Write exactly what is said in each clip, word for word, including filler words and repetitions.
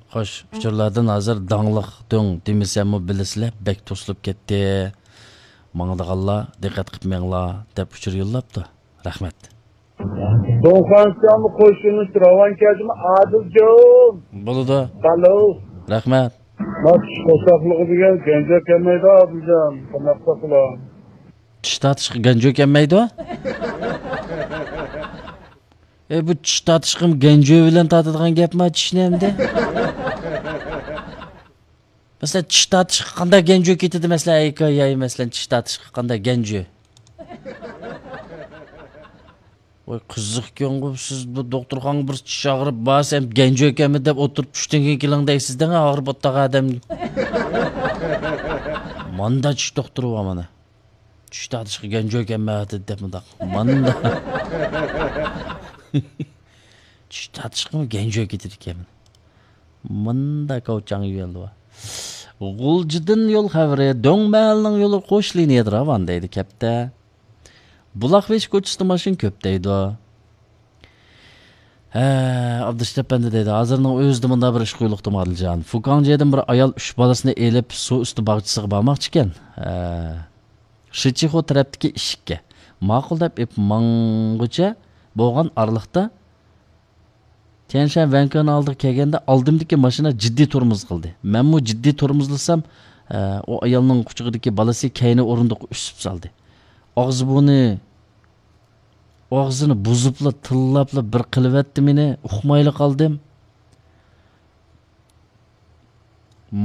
خوش، ئۇچۇرلاردىن ھازىر داڭلىق دۆڭ دېمىسەممۇ بىلىسىلەر، بەك توسۇلۇپ كەتتى. ماڭىدىغانلار دىققەت قىلىپ مېڭىڭلار، دەپ ئۇچۇر يوللاپتۇ. رەھمەت. دۇڭخۇەنسىڭمۇ قوشۇلۇش راۋان كەلدىمۇ ئادىلجان؟ بولىدۇ. بالو. رەھمەت. ماس قورساقلىقى دېگەن گەنجە كەلمەيدۇ ئادىلجان. قانداق قىلساق بولار؟ چىش تارتىشقا گەنجۆ كەلمەيدۇ. ئەي، بۇ چىش تارتىشقىمۇ گەنجۆ بىلەن تارتىدىغان گەپما چىشنى ئەمدى؟ مەسىلەن، چىش تارتىشقا قانداق گەنجۆ كېتىدۇ، مەسىلەن، ئەي، كاي، ياي، مەسىلەن، چىش تارتىشقا قانداق گەنجۆ؟ ۋاي، قىزىقكەنغۇ، سىز بۇ دوختۇرخانىغا بىر چىش ئاغرىپ بارسا، ھەم گەنجۆ ئىكەنمەن دەپ ئولتۇرۇپ، چۈشتىن كېيىن كېلىڭ دەيسىز دەڭ، ئاغرىپ ئولتۇرغان ئادەم. ماندا چىش دوختۇرى بار مانا. چىش تارتىشقا گەنجۆ ئىكەنمەن دەپ مۇنداق. ماندا. چىش تارتىشقىمۇ گەنجۆ كېتىدىكەن. ماندا كاۋچاڭ يۆلى بار. غۇلجىدىن يول خەۋىرى، دۆڭ مەھەللىنىڭ يولى قوش لىنىيەدە راۋان دەيدۇ كەپتە. بۇلاق بېشى كوچىسىدا ماشىنا كۆپ دەيدۇ. ھە، ئابدۇشت ئەپەندى دەيدۇ، ھازىرنىڭ ئۆزىدە مۇنداق بىر ئىش قويۇلۇپتۇ، ئادىلجان. فۇكاڭجيەدىن بىر ئايال ئۈچ بالىسىنى ئېلىپ، سۇ ئۈستى باغچىسىغا بارماقچىكەن. ھە، شىچىخو تەرەپتىكى ئىشىككە ماقۇل دەپ ئېلىپ ماڭغۇچە بولغان ئارىلىقتا، تيەنشەن ۋەنكېنىڭ ئالدىغا كەلگەندە، ئالدىمدىكى ماشىنا جىددىي تورمۇز قىلدى. مەنمۇ جىددىي تورمۇزلىسام، ئە، ئۇ ئايالنىڭ قۇچىقىدىكى بالىسى كەينى ئورۇندۇققا ئۈسۈپ سالدى. ئاغزى-بۇرنى، ئاغزىنى بۇزۇپلا، تىللاپلا بىر قىلىۋەتتى مېنى، ئۇقمايلا قالدىم.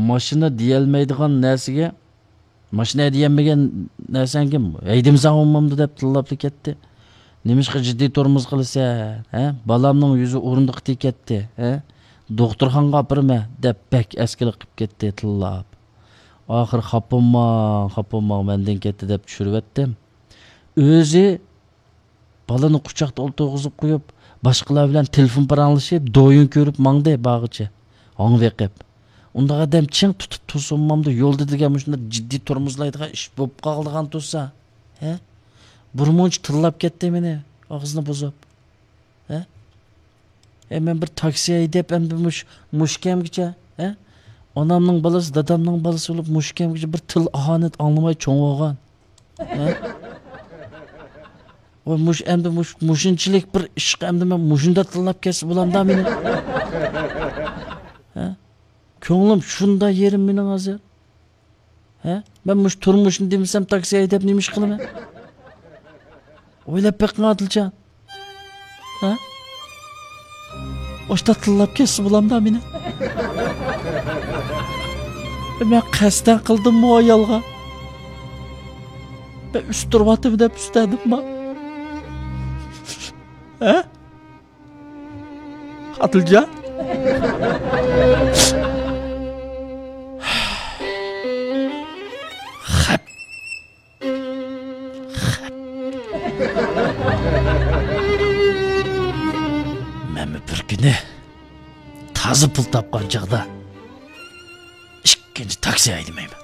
ماشىنا دېيەلمەيدىغان نەرسىگە، ماشىنا ھەيدىيەلمىگەن نەرسەڭگە ھەيدىمىسەڭ بولمامدۇ دەپ تىللاپلا كەتتى. نېمىشقا جىددىي تورمۇز قىلىسەن، ھە؟ بالامنىڭ يۈزى ئورۇندۇققا تېگىپ كەتتى، ھە؟ دوختۇرخانىغا ئاپىرىمەن دەپ بەك ئەسكىلىك قىلىپ كەتتى، تىللاپ. ئاخىرى خاپا بولماڭ، خاپا بولماڭ، مەندىن كەتتى دەپ چۈشۈرۈۋەتتىم. ئۆزى بالىنى قۇچاقتا ئولتۇرغۇزۇپ قويۇپ، باشقىلار بىلەن تېلېفون پاراڭلىشىپ، دويۇن كۆرۈپ ماڭدى باغىچە. ھاڭ بېقىپ. ئۇنداق ئادەم چىڭ تۇتۇپ تۇرسۇنمامدۇ يولدا دېگەن مۇشۇنداق جىددىي تورمۇزلايدىغان ئىش بولۇپ قالىدىغان تۇرسا. ھە؟ بىر مۇنچە تىللاپ كەتتى مېنى، ئاغزىنى بۇزۇپ. ھە؟ ئەي، مەن بىر تاكسى ھەيدەپ، ئەمدى مۇش-، مۇشۇ كەمگىچە، ھە؟ ئانامنىڭ بالىسى، دادامنىڭ بالىسى بولۇپ، مۇشۇ كەمگىچە بىر تىل ئاھانەت ئاڭلىماي چوڭ بولغان. ھە؟ ۋاي، مۇش-، ئەمدى مۇش-، مۇشۇنچىلىك بىر ئىشقا ئەمدى مەن مۇشۇنداق تىللاپ كەتسە بولامدا مېنى؟ ھە؟ كۆڭلۈم شۇنداق يېرىم مېنىڭ ھازىر. ھە؟ مەن مۇشۇ تۇرمۇشنى دېمىسەم، تاكسى ھەيدەپ نېمە ئىش قىلىمەن؟ ئويلاپ بېقىڭ، ئادىلجان. ھە؟ ئاشتا تىللاپ كەتسە بولامدا مېنى؟ مەن قەستەن قىلدىممۇ ئايالغا؟ مەن ئۈستۈرۈۋاتىمەن دەپ ئۈستەدىمما؟ ھە؟ ئادىلجان؟ خەپ. خەپ. مەنمۇ بىر كۈنى تازا پۇل تاپقان چاغدا ئىككىنچى تاكسى ھەيدىمەيمەن.